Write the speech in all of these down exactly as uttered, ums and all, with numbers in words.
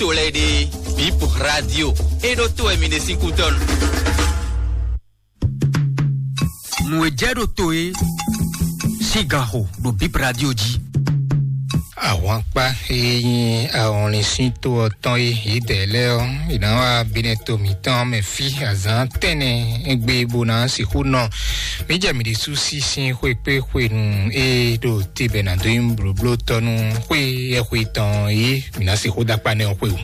to lɛ́ɛ ɖe, Bip Radio, é ɖó to wɛ mi ɖe sín kútɔ́nu. Nǔ e jɛ ɖo to é sín ganxo ɖo Bip Radio jí. Ahwankpá e nyí ahɔnlin sín to ɔ́ tɔn é, yědɛɛ lɛ́ɛ ɔ́, è nǎ wá Benɛto mǐtɔn mɛ fí azǎn tɛ́nnɛ égbé bó ná sixú nɔ. Mǐ jɛ mǐ ɖésú sí sín xwé kpé xwenu e ɖo te bɔ è nǎ dó nyí blǒblótɔ́ nú xwé yɛxwe tɔn é, mǐ ná sixú dó akpá nɛ́ ɔ́ xwé o.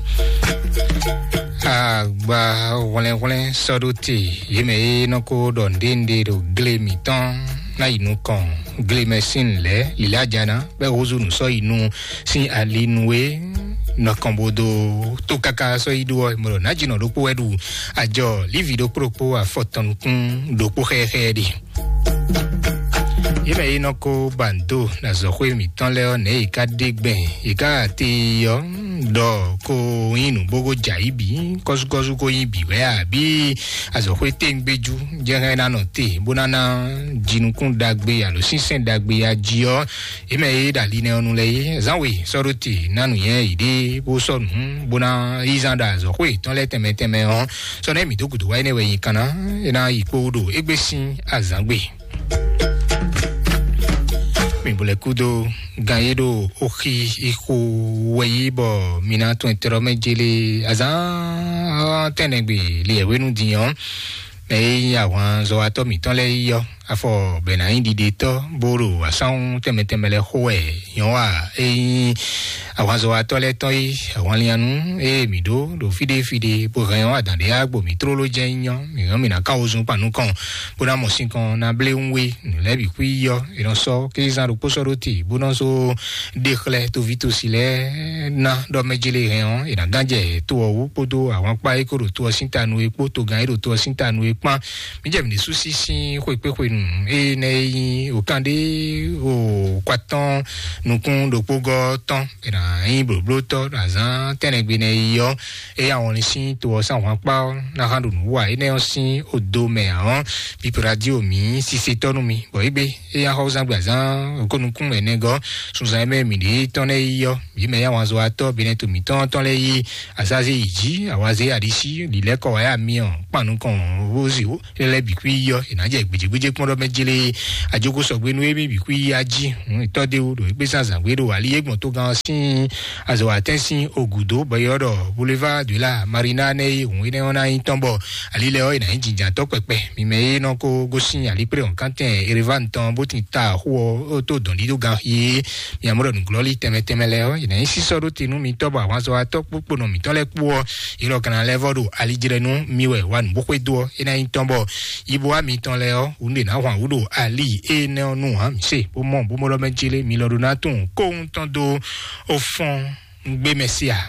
Agba hwlɛ́nhwlɛ́n sɔ́ ɖó te, yě mɛ e nɔ ko ɖɔ nǔɖénúɖé ɖo gle mǐtɔn ná yi nukɔn gle mɛ sín lɛ̌ lǐlá jana bɔ é húzú nǔ sɔ́ yi nu sín ali nu é nɔ kɔn bó dó tó káká sɔ́ yi ɖó ɔ́, mɔ ɖɔ nǎjínɔ ɖokpó wɛ ɖu ajɔ lívi ɖokpó ɖokpó afɔtɔn nukún ɖokpó xɛxɛ ɖe. Yě mɛ yi nɔ ko ba ndo na azɔ̌xwé mǐtɔn lɛ́ɛ ɔ́, nɛ̌ yě ká ɖe gbɛn? Yě ká te yi ɔ́, ɖɔ ko nyí nǔ bó ko jɛ ayǐ bǐ, kɔ́súkɔ́sú ko nyí bǐ wɛ a, bǐ azɔ̌xwé téŋgbéjú jɛ hɛn ná nɔ te bó ná ná jinukún ɖagbe alo sínsɛ́n ɖagbe ya jí ɔ́, yě mɛ e ɖo ali nɛ́ ɔ́ nu lɛ́ɛ é, zán we sɔ́ ɖó te ná nǔnywɛ́ yěɖée bó sɔ́ nǔ bó ná yí zán ɖo azɔ̌xwé yětɔn lɛ́ɛ tɛnmɛ tɛnmɛ ɔ́, sɔ́ nɛ́ mǐ dó gǔdo wá énɛ́ wɛ nyi kanna, é ná yi kpó ɖo égbé sín azǎngbe. Mi bo lɛ kúdó gan yé ɖo oxi ixo wɛ yí bɔ mi ná tún ɛtɛrɔ mɛ jele azán tɛnɛgbe li ɛwénu din ɔ́, mɛ e nyí ahwanzɔwatɔ́ mǐtɔn lɛ́ɛ yi ɔ́, afɔ bɛ ná nyí ɖiɖetɔ́ bó ɖo asánwú tɛnmɛ tɛnmɛ lɛ́ɛ xo wɛ nyɔ́ wa e nyí ahwanzɔwatɔ́ lɛ́ɛ tɔn yi ahwanlianu e mǐ ɖó ɖo fíɖé fíɖé bó hɛn ɔ́ adǎn ɖé agbo mǐ tlóló jɛ́n nyí ɔ́, mǐ hɛn mǐ ná ká wozun kpan nukɔn bó ná mɔ sinkɔn ná blé wú we nǔ lɛ́ɛ bǐ xwí yi ɔ́, è nɔ sɔ́ kézán ɖokpó sɔ́ ɖó te bó nɔ só ɖe xlɛ́ toví tosi lɛ́ɛ ná ɖɔ mɛ jélé hɛn ɔ́, è nǎ gán jɛ to ɔ́ wú kpódó ahwankpá e ko ɖo to ɔ́ sín ta nu é kpó togán e ɖo to ɔ́ sín ta nu é kpán. Mǐ jɛ mǐ ɖésú sí sín xwekpéxwenu énɛ́ e nyí òkán ɖé o kwatɔ́n nukún ɖokpógɔ́ tɔn è nǎ nyí blǒblótɔ́ ɖo azǎn tɛ́nɛgbe nɛ́ yi ɔ́, eye awɔnlin sín to ɔ́ sín ahwankpá ɔ́ ná hán ɖo nǔ wa énɛ́ ɔ́ sín odo mɛ ǎ ɔ́, Bip Radio mǐ sisetɔ́ nú mi, bɔ égbé eye axɔ́zán gbe azǎn okónukún ɛnɛgɔ́ sunzan e mɛ mǐ ɖe tɔn lɛ́ɛ yi ɔ́, yě mɛ yá wǎnzɔ́watɔ́ Benɛto mǐtɔn tɔn lɛ́ɛ yi azazé yi jí, awazé aɖisí, lǐlɛ́kɔ wá yá mi ɔ́, kpan nukɔn wózì wó lɛ́lɛ́ bǐ kú yi ɔ́, è nǎ jɛ gbějégbéjé kpɔ́n ɖɔ mɛ jlé ajoko sɔgbe nú émí bǐ kú yi ají. Tɔ́ ɖé wú ɖo égbé zán zǎngbé ɖo ali e gbɔn togán ɔ́ sín azɔ̌watɛ́n sín ogǔdó bɔ é ɔ́ ɖɔ Boulevard de la Marina nɛ́ é hǔn énɛ́ ɔ́ ná nyí tɔn bɔ ali lɛ́ɛ ɔ́ è nǎ nyí jǐnjǎntɔ́ kpɛkpɛ. Mi mɛ e nɔ ko gosín alikplé wɔ̌nkántɛn Ereván tɔn bó tin ta xó ɔ́ tó dɔ̌n ɖíɖó gan xí é, mi amɔ̌ ɖɔ nǔglɔ́lí tɛnmɛ tɛnmɛ lɛ́ɛ ɔ́, è nǎ nyí sísɔ́ ɖó te nú mi tɔ́ bɔ ahwanzɔ́watɔ́ kpókponɔ mǐtɔn lɛ́ɛ kpó ɔ́, è lɔ ka ná lɛ́ vɔ́ ɖo alijlɛ́ nú mi wɛ wa nǔ bó xwedó ɔ́, é ná nyí tɔn bɔ yibo wá mitɔn lɛ́ɛ ɔ́, wǔ ɖě ná hwan wǔ ɖo ali énɛ́ ɔ́ nú ǎ. Mǐ se bó mɔ bó mɔ ɖɔ mɛ jélé mi lɔ ɖó ná tunwun kóhun tɔn dó ó fɔ́n gbé mɛ sí a?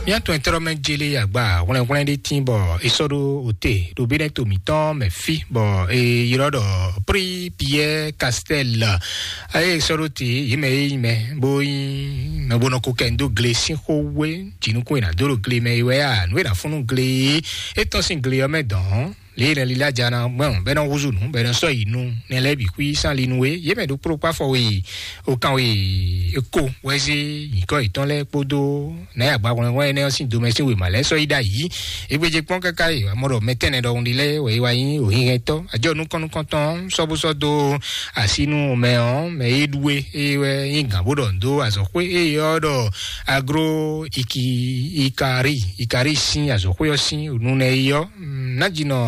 Mía tɔn tɔ́rɔ mɛ jélé agba hwlɛnhwlɛn ɖé tín bɔ é sɔ́ ɖó òte ɖo bí nɛ́ to mǐtɔn mɛ fí bɔ è ylɔ́ ɖɔ Prix Pierre Castel. Eye é sɔ́ ɖó te yě mɛ e nyí mɛ bó nyí mɛ bó nɔ ko kɛ dó gle sín xó wé jǐnukún e nǎ dó ɖo gle mɛ é wɛ a, nǔ e nǎ fún nú gle é tɔ́n sín gle ɔ́ mɛ dɔn lě e nɛ lílá jana gbɔn bɛ nɔ húzú nǔ bɛ nɔ sɔ́ yi nu nɛ lɛ́ɛ bǐ xwí sán li nu é, yě mɛ ɖokpó ɖokpó afɔ we o kan we ko wɛ zé nyǐkɔ yětɔn lɛ́ɛ kpódó nǎ yi agba hwlɛnhwlɛn énɛ́ ɔ́ sín domɛ sín wěma lɛ́ɛ sɔ́ yi ɖ'ayǐ. Égbéjé kpɔ́n káká yi amɔ ɖɔ mɛ tɛnɛ ɖɔhun ɖi lɛ́ɛ wɛ yi wá nyí òhínhɛntɔ́ ajɔ nukɔn nukɔntɔn sɔ́ bó sɔ́ dó así nú mɛ ɔ́, mɛ e ɖu é, é wɛ nyí gǎn bó ɖɔ nǔ dó azɔ̌xwé é ɔ́ ɖɔ Agro Iki Ikari Ikari sín azɔ̌xwé ɔ́ sín nunɛ é ɔ́, Nájínɔ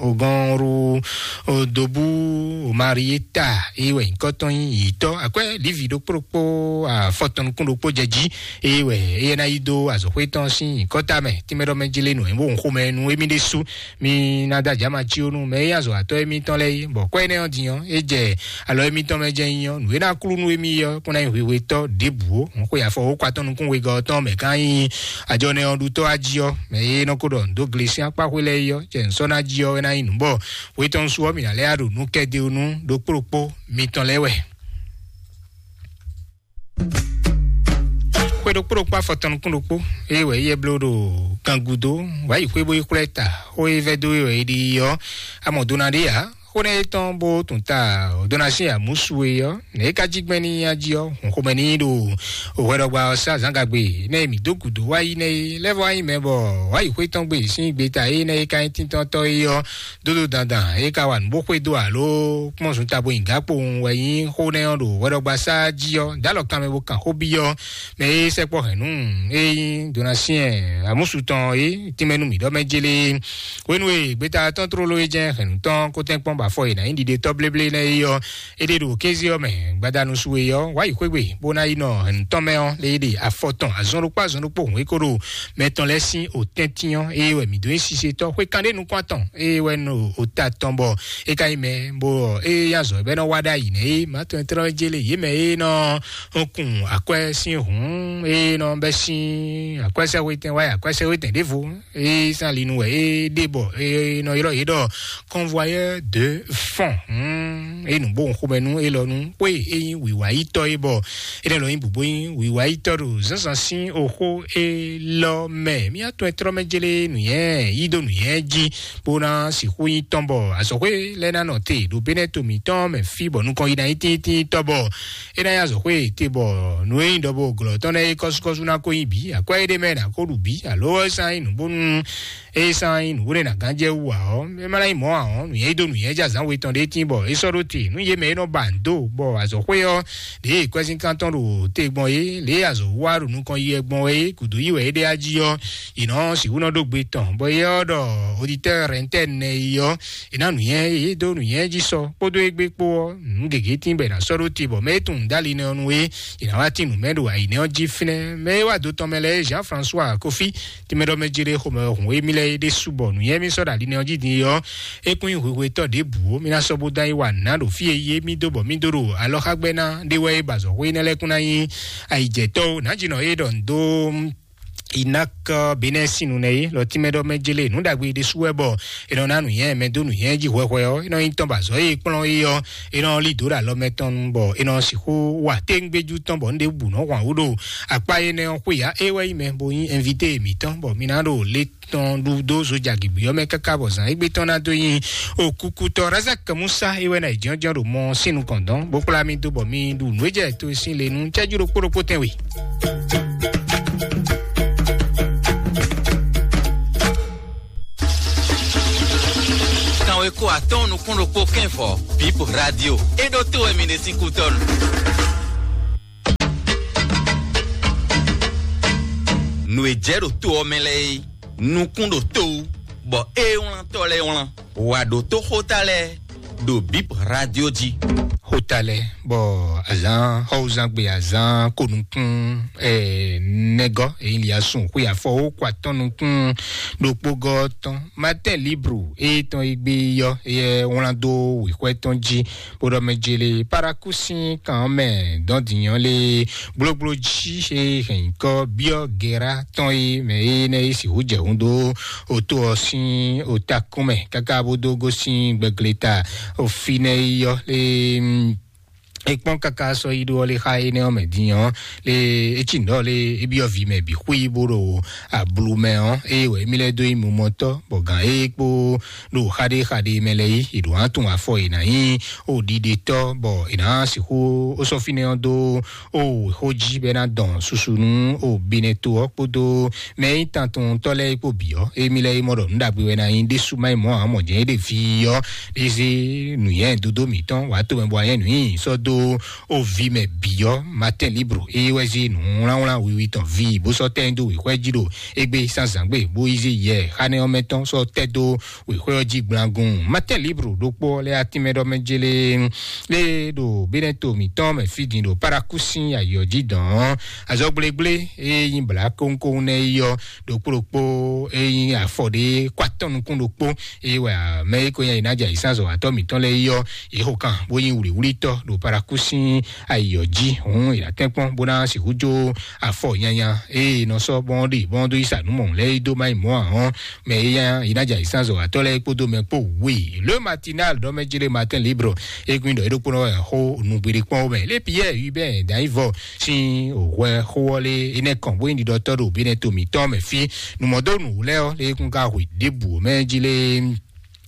Ogɔnru Odobu Omarieta é wɛ nyǐkɔ tɔn nyí yǐtɔ́ akwɛ́ Livi ɖokpó ɖokpó afɔtɔn nukún ɖokpó jɛ jí é wɛ é ná yi dó azɔ̌xwé tɔn sín nyǐkɔ tamɛ tínmɛ ɖɔ mɛ jlé nǔ é bó xomɛ nú émí ɖésú. Mi ná da jama cí ó nú mɛ e azɔ̌ atɔ́ émítɔn lɛ́ɛ é, bɔ kɔ́ énɛ́ ɔ́ din ɔ́, é jɛ alɔ émítɔn mɛ jɛ nyí ɔ́, nǔ e ná klú nú émí ɔ́ kún ná nyí hwehwetɔ́ ɖěbǔ ó. Hǔn xwe afɔ wó kɔ atɔ́ nukún wegɔ́ ɔ́ tɔn mɛ ká nyí ajɔnɛ ɔ́ ɖutɔ́ ají ɔ́, mɛ e nɔ ko ɖɔ nǔ dó gle sín akpá xwé lɛ́ɛ é ɔ́, jɛ nǔ sɔ́ ná jí ɔ́ é ná nyí nǔ bɔ hwetɔ́nusú ɔ́ mǐ ná lɛ́ ɖo nǔ kɛdeo nú ɖokpó ɖokpó mitɔn lɛ́ɛ wɛ. Xwe ɖokpó ɖokpó afɔtɔn nukún ɖokpó eye wɛ yɛ bló ɖo gangudo wǎ yi xwé bó yi xwlɛ́ ta xó e vɛ́ dó é wɛ é ɖi ɔ́, amɔ dó ná ɖe ǎ. Xó nɛ́ é tɔn bó tún ta ɔ́, dó ná sín amǔsu e ɔ́, nɛ̌ é ka jí gbɛn n'i a jí ɔ́, hun xomɛ n'i ɖo hwɛɖɔgba ɔ́ sá zǎngagbe nɛ́ e mǐ dó gǔdo wá yi nɛ́ é lɛ́ vɔ nyí mɛ bɔ wǎ yi xwé tɔn gbe sín gbeta é nɛ́ é ka nyí tíntɔ́ntɔ́ é ɔ́, dódó dandan é ka wa nǔ bó xwedó alo kpɔ́n zun tabo nyi gǎ kpowun wɛ nyí xó nɛ́ ɔ́ ɖo hwɛɖɔgba sá jí ɔ́, dǎlɔ kanmɛ bó kan xó byɔ́ mɛ e sɛkpɔ́ hɛ̌nnu e nyí Donatien amúsu tɔn é tínmɛ nú mǐ ɖɔ mɛ jélé. Hwenu e gbeta tɔn tlóló é jɛ́n hɛ̌nnu tɔn kótɛ́nkpɔ́n bɔ afɔ e nǎ nyí ɖiɖetɔ́ bléblé nɛ́ é ɔ́, é ɖe ɖo kéze ɔ́ mɛ gbadanu su e ɔ́, wá yi xwé gbe bó ná yi nɔ hɛ̌nnu tɔn mɛ ɔ́, lě é ɖe afɔ tɔn azɔn ɖokpó azɔn ɖokpó hǔn é ko ɖo mɛ tɔn lɛ́ɛ sín otɛ́ntin ɔ́, ée wɛ mǐ dó nyí sisetɔ́ xwé kanɖé nukún atɔn, ée wɛ nɔ ota tɔn bɔ é ka nyí mɛ bó ɔ́, ée nyí azɔ̌ bɛ́ nɔ wa ɖ'ayǐ nɛ́ é, mǎ tɔn e tlɔ́ jélé yě mɛ é nɔ kun akwɛ́ sín hǔn, é nɔ bɛ́ sín akwɛ́sɛ́xwétɛn wá yi akwɛ́sɛ́xwétɛn ɖěvo, é sín ali nu wɛ é ɖe bɔ é nɔ ylɔ́ yě ɖɔ convoyeur de fond. Hmm, é nǔ bó xomɛ nú élɔ́ nú xwé é nyí wǐwáyítɔ́ é bɔ é nɛ́ lɔ nyí bǔbó nyí wǐwáyítɔ́ ɖo zǎnzǎn sín oxó élɔ́ mɛ. Mí atɔn e tlɔ́ mɛ jélé nǔnyɛ yí dó nǔnyɛ jí bó ná sixú nyí tɔn bɔ azɔ̌xwé lɛ́ɛ ná nɔ te ɖo Benɛ́to mǐtɔn mɛ fí bɔ nukɔn yi ná nyí tíntínntɔ́ bɔ é ná nyí azɔ̌xwé te bɔ nǔ e nyí ɖɔbo glɔ̌ tɔn lɛ́ɛ é kɔ́súkɔ́sú ná ko nyí bǐ, akwɛ́ éɖée mɛ ná ko ɖu bǐ, alo é sán nyí nǔ bónú é sán nyí nǔ bó ɖé ná gán jɛ wú ǎ ɔ́, é má ná nyí mɔ̌ ǎ ɔ́, nǔnyɛ yí dó nǔnyɛ jɛ azǎn we tɔn ɖé tín bɔ é sɔ́ ɖó te nú yě mɛ e nɔ ba nǔ dó bɔ azɔ̌xwé ɔ́, ɖěe kwɛ́zínkan tɔn ɖo te gbɔn é, lě e azɔ̌ wa ɖo nukɔn yi wɛ gbɔn wɛ é, gǔdo yi wɛ é ɖe á jí ɔ́, yě nɔ sixú nɔ ɖó gbe tɔn, bɔ é ɔ́ ɖɔ oditɛ́ rɛntɛ́n nɛ yi ɔ́, è nǎ nǔnyɛ yě dó nǔnyɛ jí sɔ kpódó égbé kpó ɔ́, nǔ gěgé tín bɔ è nǎ sɔ́ ɖó te bɔ mɛ e tunwun dó ali nɛ́ ɔ́ nu é, è nǎ wá tín nǔ mɛ ɖo ayǐ nɛ́ ɔ́ jí fínɛ́. Mɛ e wá do tɔn mɛ lɛ́ɛ é Jean François Kofi, tínmɛ ɖɔ mɛ jélé xomɛ hǔn émí lɛ́ɛ é ɖésú bɔ nǔnyɛ émí sɔ́ ɖo ali nɛ́ ɔ́ jí din é ɔ́, é kún nyí hwehwetɔ́ ɖěbǔ ó. Mí ná sɔ́ bó dán yi wa nǔ ná ɖo fí e yí émí dó bɔ mí dó ɖo alɔxágbɛ́ ná ɖé wɛ é ba azɔ̌xwé énɛ́ lɛ́ɛ kún ná nyí ayǐjɛtɔ́ ó. Nǎjínɔ é ɖɔ nǔ dó Inak Benɛ́ sín nu nɛ́ é lɔ tínmɛ ɖɔ mɛ jélé nǔ ɖagbe ɖésú wɛ bɔ è nɔ ná nǔnyɛ mɛ dó nǔnyɛ jí hwɛhwɛ ɔ́, é nɔ nyí tɔn bɔ azɔ̌ e kplɔ́n é ɔ́, é nɔ lí dǒ ɖo alɔ mɛ tɔn nu bɔ é nɔ sixú wa téŋgbéjú tɔn bɔ nǔɖé bǔ nɔ hwan wú ɖo akpá énɛ́ ɔ́ xwé ǎ. É wɛ nyí mɛ bo nyí ɛnvité mǐtɔn bɔ mi ná ɖo lé tɔn ɖu dó zojagǐgbí ɔ́ mɛ káká bɔ zǎn égbé tɔn ná dó nyi okúkútɔ́. Razak Musa é wɛ ná yi jɔ́njɔ́n ɖo mɔ sín nukɔn dɔn bó kplá mì dó bɔ mi ɖu nǔ e jɛ to sín le nú cɛ́jú ɖokpó ɖokpó tɛn we. Kanweko atɔ́ɔ́n nukún ɖokpó kɛ́nfɔ Bip Radio é ɖó to wɛ mi ɖe sín kútɔ́nu. Nǔ e jɛ ɖo to ɔ́ mɛ lɛ́ɛ é, nukún ɖo to wú, bɔ é wlán tɔ́ lɛ́ɛ wlán. Wǎ ɖótó xóta lɛ́ɛ ɖo Bip Radio jí. Xóta lɛ́ɛ bɔ azǎn xɔwúzangbe azǎn konukún ɛ nɛgɔ́ èyí li asún xwé afɔ ó kó atɔ́n nukún ɖokpógɔ́ tɔn Matin Libre é tɔn é gbé yɔ é wlán dó wěxwɛ́ tɔn jí bó ɖɔ mɛ jélé paraku sín kan ɔ́ mɛ dɔn dǐnyɔ́ lé gblogblo jí é hɛn nyǐkɔ byɔ́ gera tɔn é mɛ é nɛ́ é sixú jɛ hun dó oto ɔ́ sín otakún mɛ káká bó dó gosín gbɛgleta ofinɛ é yɔ lé é kpɔ́n káká sɔ́ yi ɖó ɔ́ lé xá énɛ́ ɔ́ mɛ din ɔ́ lé é cí nǔ ɖɔ lé é byɔ́ vǐ mɛ bǐ xwí bó ɖo ablu mɛ ɔ́, eye wɛ émí lɛ́ dó nyí mumɔtɔ́ bɔ gǎn é kpó ɖo xaɖéxaɖé mɛ lɛ́ɛ yí è ɖǒ ná tunwun afɔ è nǎ nyí o ɖiɖetɔ́ bɔ è nǎ sixú ó sɔ́ fínɛ́ ɔ́ dó o xó jí bɔ é ná dɔn susu nú o binɛto ɔ́ kpódó mɛ e nyí tantɔntɔ́ lɛ́ɛ kpó bǐ ɔ́. Émí lɛ́ɛ é mɔ ɖɔ nǔ ɖagbe wɛ ná nyí ɖésú má nyí mɔ̌ ǎ mɔ jɛ́n é ɖe fí ɔ́, é zé nǔnywɛ́ dodó mǐtɔn wǎ tomɛ bɔ anyɛ́ nǔ nyi sɔ́ dó o vǐ mɛ bǐ ɔ́. Matin Libre é wɛ zé nǔwlánwlán wiwi tɔn ví bó sɔ́ tɛ́ nyi dó wěxwɛ́ jí ɖo égbé zǎnzǎngbe bó yi zé yɛ xánɛ́ ɔ́ mɛ tɔn sɔ́ tɛ́ dó wěxwɛ́ ɔ́ jí gblangun. Matin Libre ɖokpó ɔ́ lɛ́ atínmɛ ɖɔ mɛ jélé lé ɖo Benɛto mǐtɔn mɛ fí din ɖo Paraku sín ayǐ ɔ́ jí dɔn ɔ́, azɔgblégblé e nyí blǎ kónkón nɛ́ yi ɔ́ ɖokpó ɖokpó e nyí afɔ ɖé kó atɔ́ nukún ɖokpó eye wɛ mɛ e ko nyí ayǐnájɛ ayǐsánzɔ́watɔ́ mǐtɔn lɛ́ɛ yi ɔ́, yě xo kan bó nyí wlǐwlítɔ́ ɖo Paraku sín ayǐ ɔ́ jí. Hǔn è nǎ tɛ́nkpɔ́n bó ná sixú jó afɔ nyanya e è nɔ sɔ́ bɔ́n ɖe bɔ́n dó yi sa nǔ mɔ̌hun lɛ́ɛ yi dó má yi mɔ̌ ǎ ɔ́, mɛ e nyí ayǐnájɛ ayǐsánzɔ́watɔ́ lɛ́ɛ kpódó mɛ kpó wě. Le Matinal ɖɔ mɛ jlé Matin Libre e gbin ɖɔ é ɖokpónɔ wɛ xó nǔgbéɖé kpɔ́n mɛ. Lé Pierre Hubert Danyivɔ sín hwɛ xó ɔ́ lé énɛ́ kɔn bó nyí ɖiɖɔtɔ́ ɖo Benɛto mǐtɔn mɛ fí. Nǔmɔdónú lɛ́ɛ ɔ́ lé kún ka hwe ɖěbǔ mɛ jí lé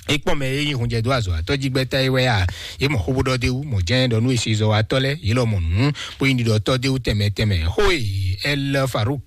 é kpɔ́n mɛ e nyí hunjɛdó azɔ̌watɔ́ jí gbɛ́ta é wɛ a? Yě mɔ xó bó ɖɔ d'é wú, mɔ̌ jɛ́n ɖɔ nú e se zɔ wa tɔ́ lɛ́ɛ, yě lɔ mɔ nǔ, bó nyí ɖiɖɔtɔ́ d'é wú tɛnmɛ tɛnmɛ. Xó e Ɛl Faruk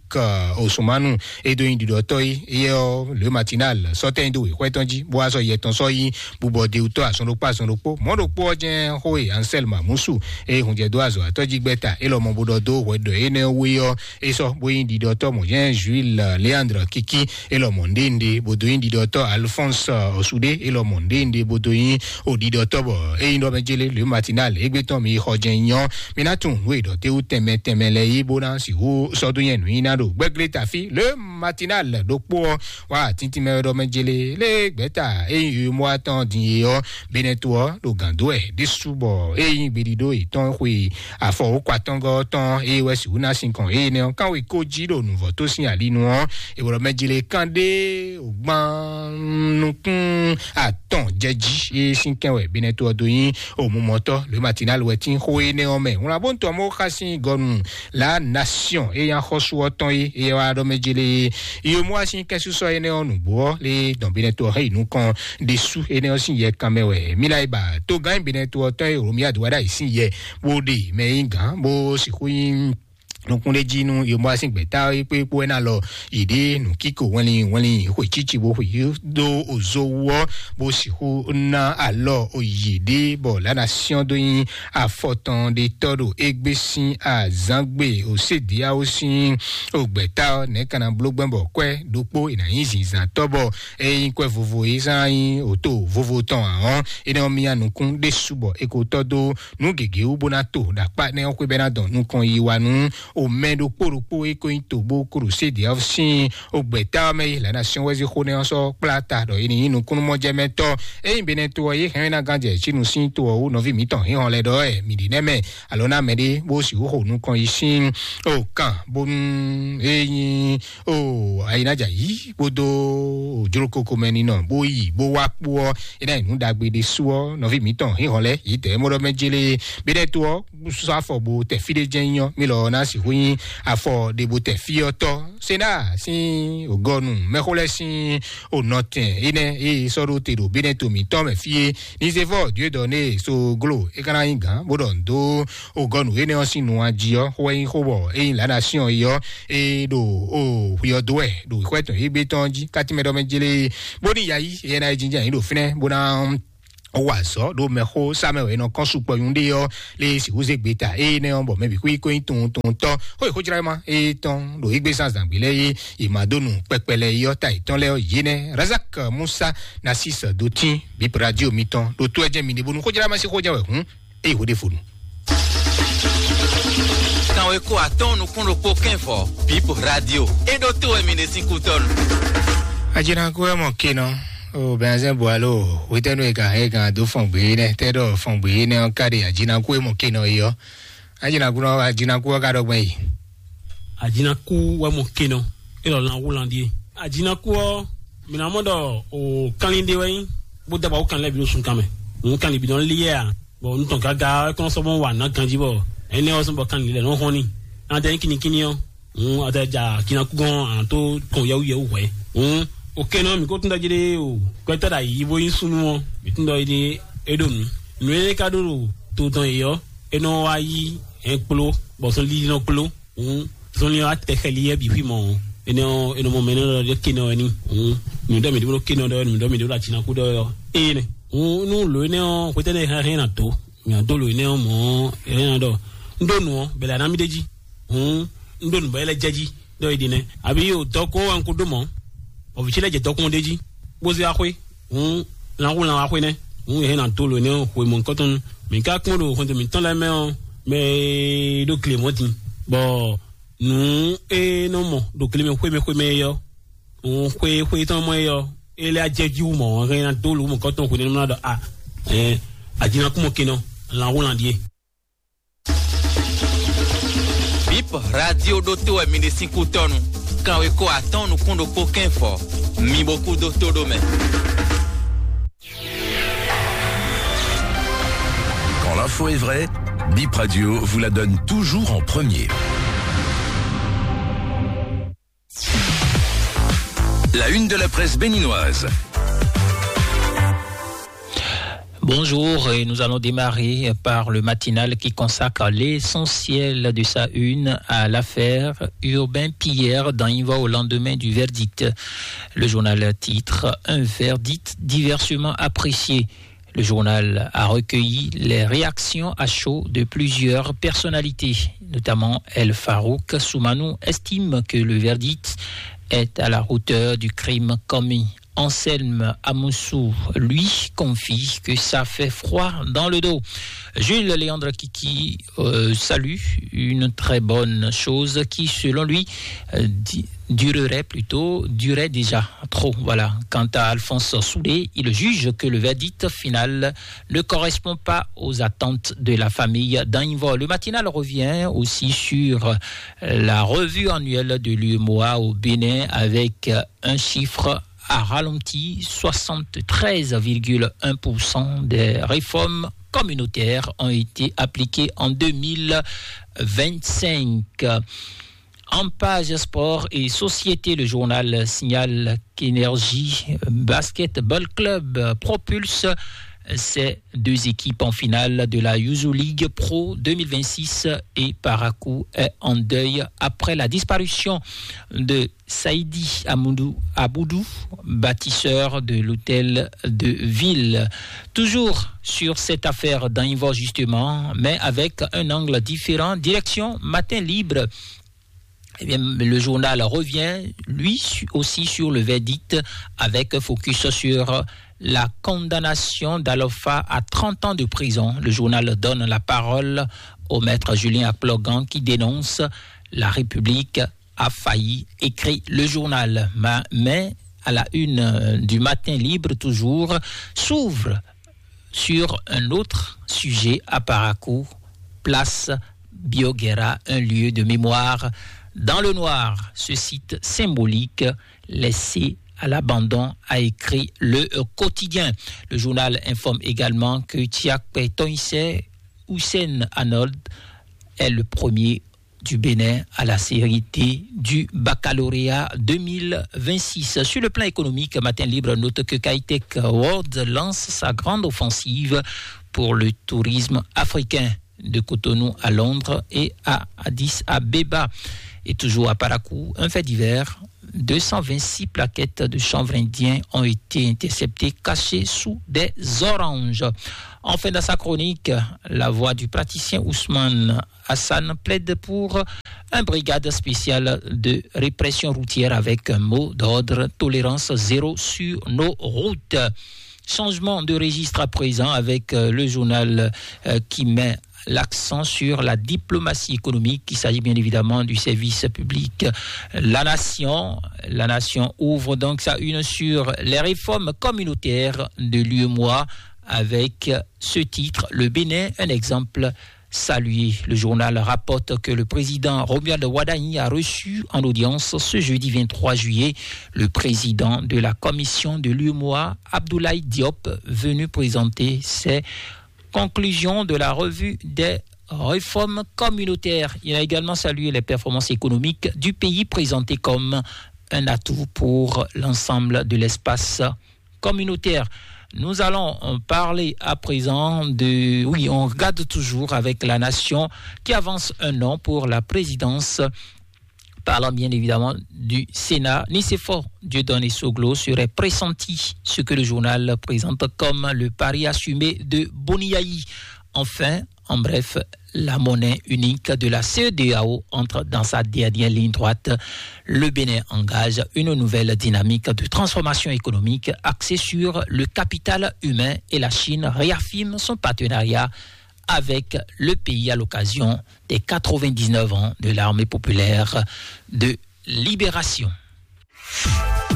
Osumanu e dó nyí ɖiɖɔtɔ́ é, éyɛ́ ɔ́, Le Matinal sɔ́ tɛ́nyi dó wěxwɛ́ tɔn jí, bó wá sɔ́ yɛ tɔn sɔ́ yí bubɔ d'é wú tɔ́ azɔn ɖokpó azɔn ɖokpó. Mɔ̌ ɖokpó ɔ́ jɛ́n xó e Ansɛl Mamusu e hunjɛdó azɔ̌watɔ́ jí gbɛ́ta é lɔ mɔ bó ɖɔ dó hwɛ ɖɔ énɛ́ wú é ɔ́, é sɔ́ bó nyí ɖiɖɔtɔ́ mɔ̌ jɛ́n Juil Leandre Kiki é lɔ mɔ nɖénɖé, bó dó nyí ɖiɖɔtɔ́ Alphonse Osude é lɔ mɔ nɖénɖé, bó dó nyí o ɖiɖɔtɔ́ bɔ é nyí ɖɔ mɛ jélé Le Matinal égbé tɔn mi xɔ jɛ́n nyɔ́. Mi ná tunwun nǔ e ɖɔ té wú tɛnmɛ tɛnmɛ lɛ́ɛ yí bó ná sixú sɔ́ dó nyɛ nǔ nyi ná ɖo gbɛ́glé tafí Le Matinal ɖokpó ɔ́ wá tíntín mɛ ɖɔ mɛ jélé lé gbɛ́ta é nyí yomɔ atɔn din e ɔ́, Benɛto ɔ́ ɖo gǎn dó wɛ ɖésú bɔ é nyí gbeɖiɖó yětɔn xwe afɔ wǒkɔ atɔngɔ́ tɔn é wɛ sixú ná sinkɔn énɛ́ ɔ́ kánwe kó jí ɖo nǔvɔ́ tó sín ali nu ɔ́, è wlɔ mɛ jlé kán ɖé gban nukún atɔn jɛ jí é sín kɛn wɛ Benɛto ɔ́ dó nyí omumɔtɔ́ Le Matinal wɛ tín xó énɛ́ ɔ́ mɛ. Wlán bó ń tɔ mɔ xá sín gɔnu La Nation é nyí axɔ́sú ɔ́ tɔn é é wá ɖɔ mɛ jlé yomɔ asín kɛnsúsɔ énɛ́ ɔ́ nǔgbó ɔ́ lé dɔn Benɛto ɔ́ hɛn yi nukɔn ɖésú énɛ́ ɔ́ sín yɛ kanmɛ wɛ. Mila e ba togán Benɛto ɔ́ tɔn e Romia do wá ɖ'ayǐ sín yɛ bó ɖe mɛ e nyí gǎn bó sixú nyí nukúnɖéjí nú yomɔ asín gbɛ̌ta é kpé kpó ɛ́ ná lɔ yě ɖe nǔkíko wɛnlin wɛnlin xwe cíci bó xwe dó ozo wú ɔ́ bó sixú ná alɔ yě ɖe bɔ lǎnà syɔ́n dó nyí afɔtɔn ɖe tɔ́ ɖo égbé sín azǎngbe òsédéáwó sín ògbɛ̌ta ɔ́ nɛ̌ ka ná bló gbɛ́ bɔ kwɛ́ ɖokpó è nǎ nyí zǐnzǎntɔ́ bɔ é nyí kwɛ́ vovo é zán nyí òto vovo tɔn ǎ ɔ́, énɛ́ ɔ́ myá nukún ɖésú bɔ è ko tɔ́ dó nǔ gěgé wú bó ná to ɖo akpá énɛ́ ɔ́ xwé bɔ é ná dɔn nukɔn yi wa nú omɛ ɖokpó ɖokpó e ko nyí tobó Krusedi ɔ́ sín ogbɛ̌ta ɔ́ mɛ yi lǎnà syɔ́n wɛ́zí xó nɛ́ ɔ́ sɔ́ kplá ta ɖɔ é ní nyí nukúnnúmɔjɛmɛtɔ́. Ényí Benɛto ɔ́ yě hɛn ná gán jɛ Cínu sín to ɔ́ wú nɔví mǐtɔn hínhɔn lɛ́ɛ ɖɔ wɛ mǐ ɖi nɛ́ mɛ alo ná mɛɖé bó sixú xo nukɔn yi sín o kan bónú é nyí o ayinájà yí kpódó jlókoko mɛ ninɔ bó yi bó wá kpó ɔ́, é ná nyí nǔ ɖagbe ɖésú ɔ́ nɔví mǐtɔn hínhɔn lɛ́ɛ yě dɛ̌ mɔ ɖɔ mɛ jélé Benɛto ɔ́ sɔ́ afɔ bo tɛ fí ɖé jɛ́n nyɔ́ mí lɔ ná sixú nyí afɔ ɖe bo tɛ fí ɔ́ tɔ́. Sena sín ògɔnu mɛxó lɛ́ɛ sín ònɔtɛn énɛ́ e sɔ́ ɖó te ɖo Benɛto mǐtɔn mɛ fí é. Nizevɔ Dieudoné Soglo é ka ná nyí gǎn bó ɖɔ nǔ dó ògɔnu énɛ́ ɔ́ sín nu jí ɔ́, xó wɛ nyí xó bɔ é nyí lǎnà syɔ́n é ɔ́, é ɖo o xwe ɔ́ dó wɛ ɖo xwɛ tɔn égbé tɔn jí kátí mɛ ɖɔ mɛ jélé bó ní yayi é ná yi jínjɛ́n yǐ ɖo fínɛ́ bó ná wa azɔ̌ ɖo mɛxó sá mɛ wɛ è nɔ kɔn sukpɔ nyuɖé ɔ́ lé sixú zé gbeta énɛ́ ɔ́ bɔ mɛ bǐ xwí kó nyí tunwun tunwun tɔ́ xó yi xójráma étɔn ɖo égbé zán zǎngbé lɛ́ɛ é è ma dó nu kpɛkpɛ lɛ́ɛ é ɔ́ ta yětɔn lɛ́ɛ ɔ́ yě nɛ́ Razak Musa Nasis Dotín bip radio mitɔn ɖo tó ɛ jẹ́ mi ɖé bónú xójráma sí xójá wɛ hǔn é yi xó ɖé fonu. Kanweko atɔ́ɔ́n nukún ɖokpó kɛ́nvɔ Bip Radio é ɖó tó wɛ mi ɖe sín kútɔ́nu. Ajinaku ɛ mɔ kinɔ o bɛnzɛn bualo wetɛnu e kan e kan do fɔngbe yi nɛ tɛ ɖɔ fɔngbe yi nɛ ɔn ka ɖe ajinaku e mɔ kinɔ yi ɔ ajinaku nɔ ajinaku ɔ ka ɖɔ gbɛn yi. Ajinaku wɛ mɔ kinɔ e lɔ lan wu lan die. Ajinaku ɔ mina mɔ ɖɔ o kanlin de wɛ yi bó daba wo kanlin lɛ bi ɖo sun kan mɛ. Òun kanlin bi nɔ li yɛ a bɔ nutɔn gaga ɛ kɔn sɔbɔ wa na ganji bɔ ɛnɛ ɔ sɔbɔ kanlin lɛ nɔ hɔn ni. An tɛ kinikini ɔ. Ŋun ɔtɛ dza kinakugɔn an tó kɔn yɛwuyɛwu hwɛ. Ŋun o kɛnɛ mi ko tún dɔ jele o gbɛtɔ da yi bo yin sunu ɔ mi tún dɔ yi de e ɖo nu. Nu e ka ɖo ɖo to dɔn yi ɔ e nɔ wa yi hɛn kplo bɔ sɔn lili nɔ kplo. Ŋun sɔn li wa tɛ xɛli yɛ bi fi mɔ. E nɔ e nɔ mɔ mɛ nɔ dɔ de kɛnɛ ɔ ni. Ŋun mi dɔ mi de bo kɛnɛ dɔ mi dɔ mi de bo la tinaku dɔ yɔ. E nɛ ŋun nu lo enɛ ɔ xwetɛ ne hɛn na to. Mia dó lo énɛ́ ɔ́ mɔ̌ énɛ́ ɔ́ ɖɔ un ɖó nǔ ɔ́ bɛlɛ ná mì ɖ'é jí. Hǔn un ɖó nǔ bɔ é lɛ́ jɛ jí ɖɔ é ɖi nɛ́. Àbí o dɔkun ɔ́ wɛ un ko ɖó mɔ̌? Bɔ vǐ ce lɛ́ jɛ dɔkun ɔ́ ɖ'é jí, bó zé wá xwé. Hǔn lan xú lan wá xwé nɛ́. Hǔn è hɛn ná dó lo énɛ́ ɔ́ hwemɔ̌ kɔ́tɔn. Mǐ ka kpɔ́n ɖo xɔnto mǐtɔn lɛ́ɛ mɛ ɔ́, mɛ e ɖó gle mɔ̌ din, bɔ nǔ e nɔ mɔ ɖo gle mɛ xwé mɛ xwé mɛ é ɔ́, òun xwé xwé tɔn mɔ é ɔ́, é lɛ́ jɛ jí wú mɔ̌ hɛn ná dó lǒ mɔ̌ kɔ́tɔn hwenu énɛ́ ná ɖɔ a ɛ ajinakúmɔ kinɔ lan wú lan ɖíe. Bip radio ɖótó wɛ mi ɖe sín kútɔ́nu. Kanweko atɔ́ɔ́n nukún ɖokpó kɛ́nfɔ. Mi bo kú dó tó ɖó mɛ. Quand l'info est vraie, Bip Radio vous la donne toujours en premier. La une de la presse béninoise. Bonjour, et nous allons démarrer par le matinal qui consacre l'essentiel de sa une à l'affaire Urbain Pierre dans Invo au lendemain du verdict. Le journal titre: Un verdict diversement apprécié. Le journal a recueilli les réactions à chaud de plusieurs personnalités, notamment El Farouk Soumanou estime que le verdict est à la hauteur du crime commis. Anselme Amoussou, lui, confie que ça fait froid dans le dos. Jules Léandre Kiki euh, salue une très bonne chose qui, selon lui, euh, di- durerait plutôt, durait déjà trop. Voilà. Quant à Alphonse Soudé, il juge que le verdict final ne correspond pas aux attentes de la famille d'Anivor. Le matinal revient aussi sur la revue annuelle de l'U M O A au Bénin avec un chiffre a ralenti: soixante-treize virgule un pour cent des réformes communautaires ont été appliquées en deux mille vingt-cinq. En page sport et société, le journal signale qu'Énergie Basketball Club propulse ces deux équipes en finale de la Yuzu League Pro deux mille vingt-six et Parakou est en deuil après la disparition de Saïdi Amoudou Aboudou, bâtisseur de l'hôtel de ville. Toujours sur cette affaire d'Anivor justement, mais avec un angle différent, direction Matin Libre. Eh bien, le journal revient, lui su- aussi, sur le verdict, avec focus sur la condamnation d'Alofa à trente ans de prison. Le journal donne la parole au maître Julien Akplogan qui dénonce: La République a failli, écrit le journal. Ma- Mais à la une euh, du Matin Libre toujours, s'ouvre sur un autre sujet à Parakou, place Bioguerra, un lieu de mémoire dans le noir. Ce site symbolique laissé à l'abandon, a écrit le quotidien. Le journal informe également que Tiakpé Toinsé Hussein Arnold est le premier du Bénin à la série D du baccalauréat deux mille vingt-six. Sur le plan économique, Matin Libre note que Kitech World lance sa grande offensive pour le tourisme africain, de Cotonou à Londres et à Addis Abeba. Et toujours à Parakou, un fait divers: deux cent vingt-six plaquettes de chanvre indien ont été interceptées, cachées sous des oranges. Enfin, dans sa chronique, la voix du praticien Ousmane Hassan plaide pour une brigade spéciale de répression routière avec un mot d'ordre: tolérance zéro sur nos routes. Changement de registre à présent avec euh, le journal euh, qui met l'accent sur la diplomatie économique. Il s'agit bien évidemment du service public. La Nation, la Nation ouvre donc sa une sur les réformes communautaires de l'U M O A avec ce titre: Le Bénin, un exemple salué. Le journal rapporte que le président Romuald Wadagni a reçu en audience ce jeudi vingt-trois juillet le président de la commission de l'U M O A, Abdoulaye Diop, venu présenter ses conclusions de la revue des réformes communautaires. Il a également salué les performances économiques du pays, présentées comme un atout pour l'ensemble de l'espace communautaire. Nous allons euh, parler à présent de... Oui, on regarde toujours avec la nation qui avance un an pour la présidence. Parlant bien évidemment du Sénat, Nicéphore Dieudonné Soglo serait pressenti, ce que le journal présente comme le pari assumé de Boniaï. Enfin, en bref, la monnaie unique de la C E D E A O entre dans sa dernière ligne droite. Le Bénin engage une nouvelle dynamique de transformation économique axée sur le capital humain et la Chine réaffirme son partenariat avec le pays à l'occasion des quatre-vingt-dix-neuf ans de l'armée populaire de libération.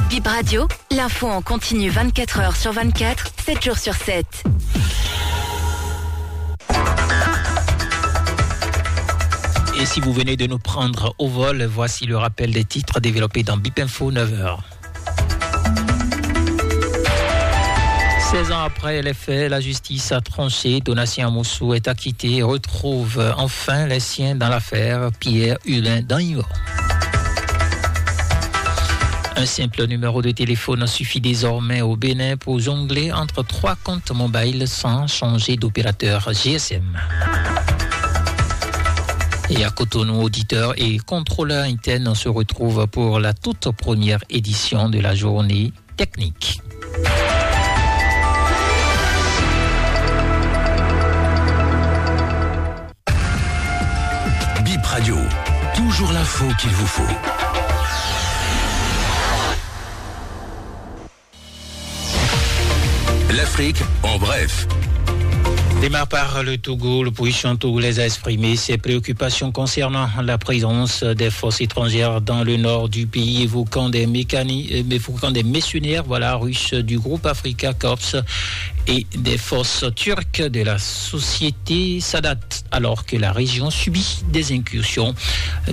Bip Radio, l'info en continu vingt-quatre heures sur vingt-quatre, sept jours sur sept. Et si vous venez de nous prendre au vol, voici le rappel des titres développés dans Bip Info neuf heures. Seize ans après les faits, la justice a tranché. Donatien Amoussou est acquitté et retrouve enfin les siens dans l'affaire Pierre Hulin Danyo. Un simple numéro de téléphone suffit désormais au Bénin pour jongler entre trois comptes mobiles sans changer d'opérateur G S M. Et à Cotonou, auditeurs et contrôleurs internes, on se retrouve pour la toute première édition de la journée technique. Bip Radio, toujours l'info qu'il vous faut. L'Afrique en bref. Démarre par le Togo. L'opposition togolaise a exprimé ses préoccupations concernant la présence des forces étrangères dans le nord du pays, évoquant des mécani-, euh, évoquant des mercenaires, voilà, russes du groupe Africa Corps et des forces turques de la société Sadat, alors que la région subit des incursions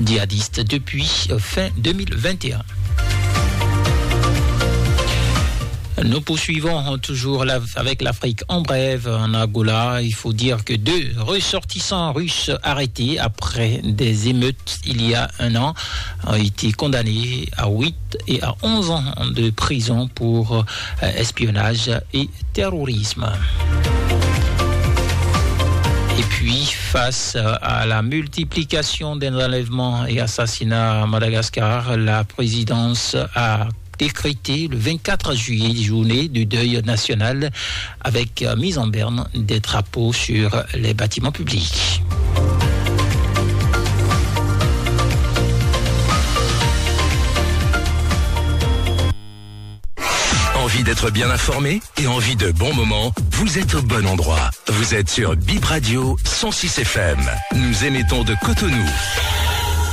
djihadistes depuis, euh, fin deux mille vingt et un. Nous poursuivons toujours la-, avec l'Afrique en bref. En Angola, il faut dire que deux ressortissants russes arrêtés après des émeutes il y a un an ont été condamnés à huit et à onze ans de prison pour, euh, espionnage et terrorisme. Et puis, face à la multiplication des enlèvements et assassinats à Madagascar, la présidence a décrété le vingt-quatre juillet journée du deuil national avec, euh, mise en berne des drapeaux sur les bâtiments publics. Envie d'être bien informé et envie de bons moments ? Vous êtes au bon endroit. Vous êtes sur Bip Radio cent six F M. Nous émettons de Cotonou.